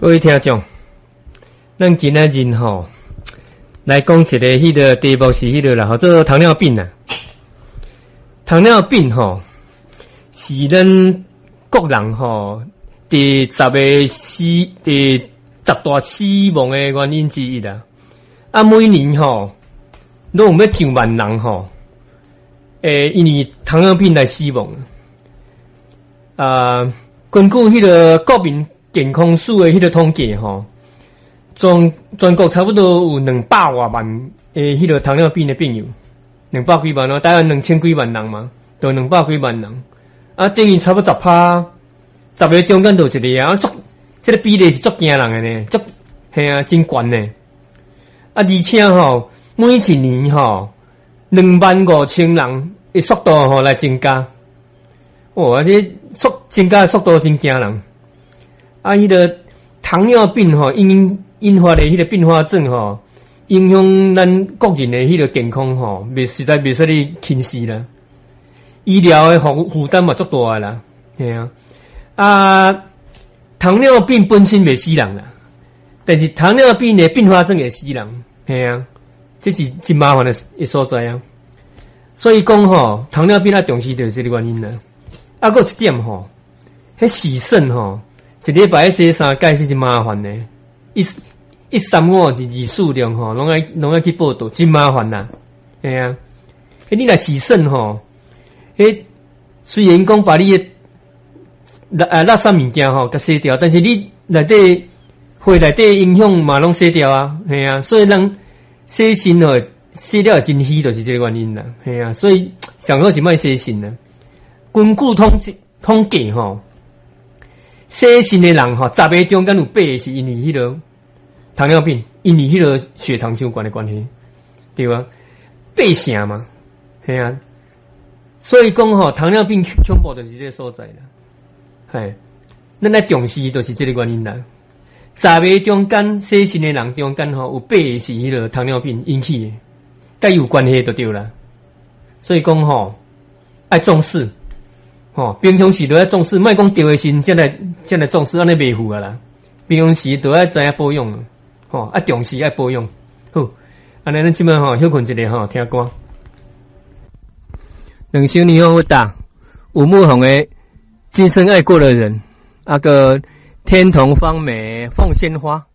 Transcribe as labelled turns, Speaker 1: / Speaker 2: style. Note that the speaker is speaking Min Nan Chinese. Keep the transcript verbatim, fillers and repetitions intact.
Speaker 1: 各位聽眾，咱今仔日吼來講一个彼个題目是彼个啦，號做糖尿病啊。糖尿病吼是咱國人吼第十个死第十大死亡的原因之一啦。啊，每年吼攏有欲上萬人吼，會因為糖尿病來死亡。啊，根據彼个國民健康署的彼个統計吼，全全國差不多有兩百外萬的彼个糖尿病的病友，兩百幾萬哦，大概兩千幾萬人嘛，就兩百幾萬人，啊，等於差不多十趴，十个中間就一个啊，足，這个比例是足驚人的呢，足，嘿啊，真懸呢。啊，而且吼，每一年吼，兩萬五千人的速度吼來增加，哦，啊，這速增加的速度真驚人。啊，彼个糖尿病吼，引引發的彼个併發症吼，影響咱國人的彼个健康吼，袂實在袂使你輕視啦。醫療的負負擔嘛足大啦，嘿啊。啊，糖尿病本身袂死人啦，但是糖尿病的併發症會死人，嘿啊，這是真麻煩的的所在啊。所以講吼，糖尿病愛重視就是這个原因啦。啊，閣有一點吼，彼洗腎吼，一禮拜洗三擺是真麻煩的，一一三五二二四六吼，攏愛攏愛去報到，真麻煩啦。嘿啊，彼你若洗腎吼，彼雖然講把你的垃垃圾物件吼，共洗掉，但是你內底血內底營養嘛攏洗掉啊，嘿啊，所以人洗腎吼，洗了真虛，就是這个原因啦，嘿啊，所以上好是莫洗腎啦。根據統計統計吼，洗腎的人吼，十个中間有八个是因為彼个糖尿病，因為彼个血糖傷懸的關係，對吧？八成嘛，嘿啊，所以講吼，糖尿病恐怖就是這个所在啦，嘿，咱愛重視就是這个原因啦。十个中間洗腎的人中間吼，有八个是彼个糖尿病引起的，佮伊有關係就對啦。所以講吼，愛重視，吼，平常時都愛重視，莫講著的時陣才來才來重視，按呢袂赴啊啦。平常時都愛知影保養，吼，愛重視愛保養。好，按呢咱這擺吼歇睏一下吼，聽歌。兩首年好打，吳牧宏的《今生愛過的人》，啊閣天童芳美鳳仙花。